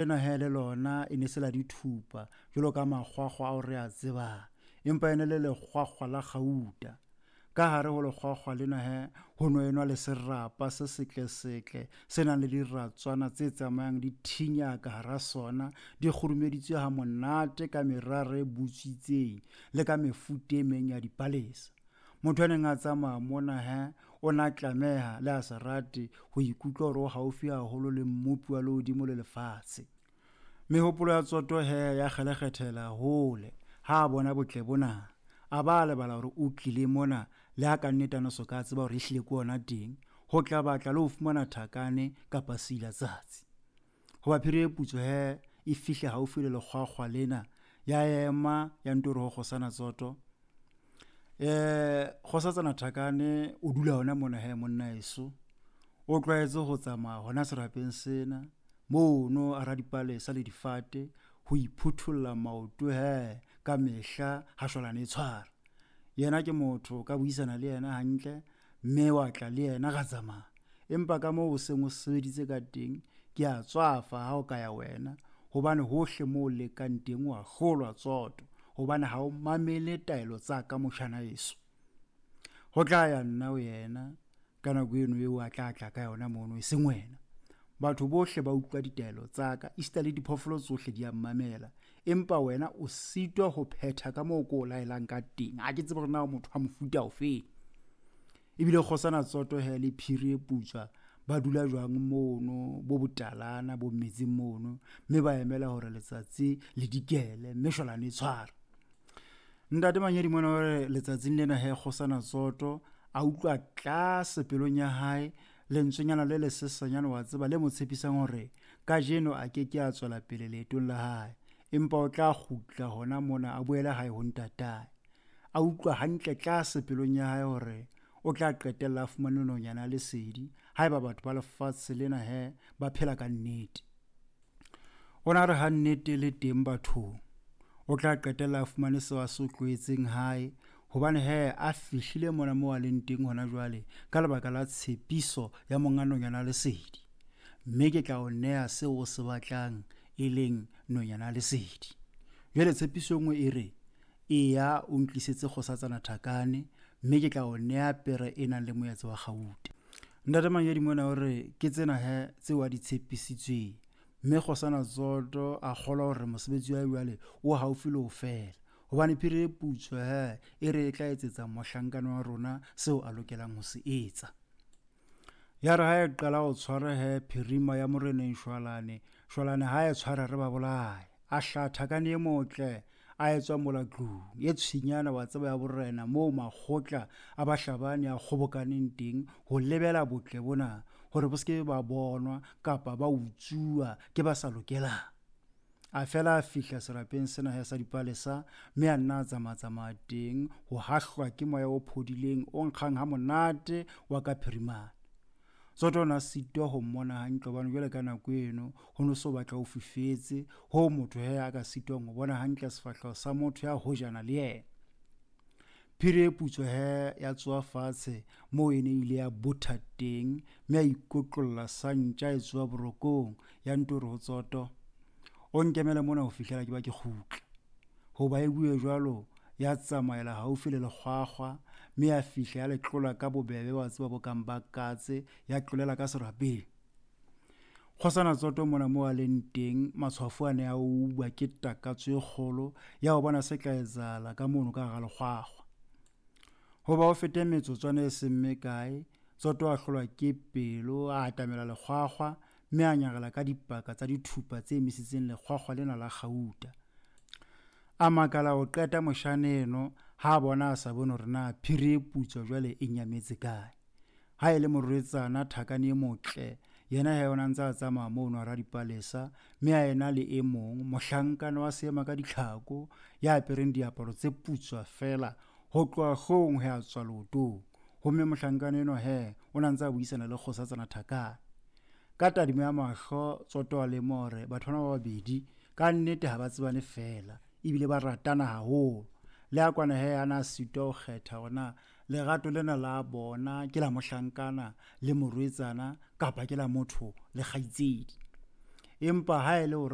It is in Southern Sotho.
Lena he le lona e ne se la dithupa jwalo ka makgwakgwa ao re a tsebang, empa e ne le lekgwakgwa la kgauta. Ka hare ho lekgwakgwa lena he ho no enwa le serapa se setlesetle se nang le diratswana tse tsamayang di thinya ka hara sona, di kgurumeditswe ha monate ka merara e butswitseng le ka mefuta e meng ya dipalesa. Motho ya neng a tsamaya mona he o na tlameha le a sa rate ho ikutlwa hore o haufi haholo le mmopi wa lehodimo le lefatshe. Mehopolo ya Tsoto he ya kgelekgethela hole ha a bona botle bona. A ba a lebala hore o tlile mona le ha ka nnete a no so ka tseba hore ehlile ke ona teng ho tla batla le ho fumana thakane kapa seilatsatsi. Hoba phiri e putswa he e fihle haufi le lekgwakgwa lena, ya ema ya nto re ho kgosana Tsoto, Kgosatsana Thakane o dula hona mona he monna eso. O tlwaetse ho tsamaya hona serapeng sena mono hara dipalesa le difate ho iphutholla maoto he ka mehla ha shwalane e tshwara. Yena ke motho ka buisana le yena hantle mme wa tla le yena ra tsamaya. Empa ka moo o seng o sebeditse ka teng ke a tswafa ha o ka ya wena, hobane hohle moo o lekang teng wa hlolwa Tsoto, hobane ha o mamele taelo tsa ka motjhana eso. Ho tla ya nna ho yena ka nako eno eo a tla tla ka yona mono, e seng wena. Batho bohle ba utlwa ditaelo tsa ka, esita le diphoofolo tsohle di a mmamela, empa wena o sitwa ho phetha ka moo ko o laelang ka teng. Ha ke tsebe hore na o motho wa mofuta ofeng. Ebile kgosana Tsoto he le phiri e putswa ba dula jwang mono bo botalana bo metseng mono, mme ba emela hore letsatsi le dikele mme shwalane e tshwara. Ntate Manyedi mona o re letsatsing lena he kgosana Tsoto a utlwa tlase pelong ya hae lentswenyana le lesesanyana wa tseba le mo tshepisang hore kajeno a ke ke a tswela pele leetong la hae, empa o tla kgutla hona mona a boele hae ho ntatae. A utlwa hantle tlase pelong ya hae hore o tla qetella a fumane nonyana ya lesedi haeba batho ba lefatshe lena he ba phela ka nnete. O na re ha nnete le teng bathong, o tla qetella a fumane seo a se tlohetseng hae, hobane he a fihlile mona moo a leng teng hona jwale ka lebaka la tshepiso ya monga nonyana ya lesedi. Mme ke tla o neha seo o se batlang, e leng nonyana ya lesedi. Jwale tshepiso e nngwe e re, eya o ntlisetse kgosatsana Thakane, mme ke tla o neha pere e nang le moetse wa kgauta. Ntate Manyedi mona o re ke tsena he tseo a di tshepisitsweng, mme kgosana Tsoto a kgolwa hore mosebetsi wa jwale o haufi le ho fela, hobane phiri e putswa he e re e tla etsetsa mohlankana wa rona seo a lokelang ho se etsa. Ya re ha e qala ho tshwara he phirima ya moreneng Shwalane, Shwalane ha e tshwara re ba bolaya. A hlaha Thakane e motle a etswa mola tlung e tshwinyana wa tseba ya borena moo makgotla a bahlabani a kgobokaneng teng ho lebela botle bona hore bo se ke ba bonwa kapa ba utsuwa ke ba sa lokelang. A fela a fihla serapeng sena he sa dipalesa mme a nna a tsamatsamaya teng ho hahlwa ke moya o phodileng o nkgang ha monate wa ka phirimana. Tsoto o na sitwa ho mmona hantle hobane jwale ka nako eno ho no so batla ho fifetse hoo motho he a ka sitwang ho bona hantle sefahleho sa motho ya hojana le yena. Phiri e putswa he ya tsoha fatshe moo e ne ile ya botha teng mme a ikotlolla sa ntja e tsoha borokong ya nto re ho Tsoto, o nkemele mona ho fihlela ke ba ke kgutla. Hoba e bue jwalo ya tsamaela haufi le lekgwakgwa mme ya fihla ya le tlola ka bobebe wa tseba bo kang ba katse, ya tlolela ka serapeng. Kgosana Tsoto mona moo a leng teng matshwafo a ne a uba ke takatso e kgolo ya ho bona se tla etsahala ka mono ka hara lekgwakgwa. Hoba o fete metsotswana e seng mekae, Tsoto a hlolwa ke pelo, a atamela lekgwakgwa mme a nyarela ka dipaka tsa dithupa tse emisitseng lekgwakgwa lena la kgauta. A makala ho qeta moshane eno ha a bona a sa bone hore na phiri e putswa jwale e nyametse kae. Ha e le morwetsana Thakane e motle, yena he o na ntse a tsamaya mono hara dipalesa mme a ena le e mong mohlankana wa seema ka ditlhako ya apereng diaparo tse putswa fela ho tloha hloohong ho ya tswa leotong. Homme mohlankana enwa he o na ntse a buisana le kgosatsana Thakane. Ka tadimo ya mahlo Tsoto a lemoha hore batho bana ba babedi ka nnete ha ba tsebane fela ebile ba ratana haholo. Le a kwana he a na sitwa ho kgetha hore na lerato lena la bona ke la mohlankana le morwetsana kapa ke la motho le kgaitsedi. Empa ha e le hore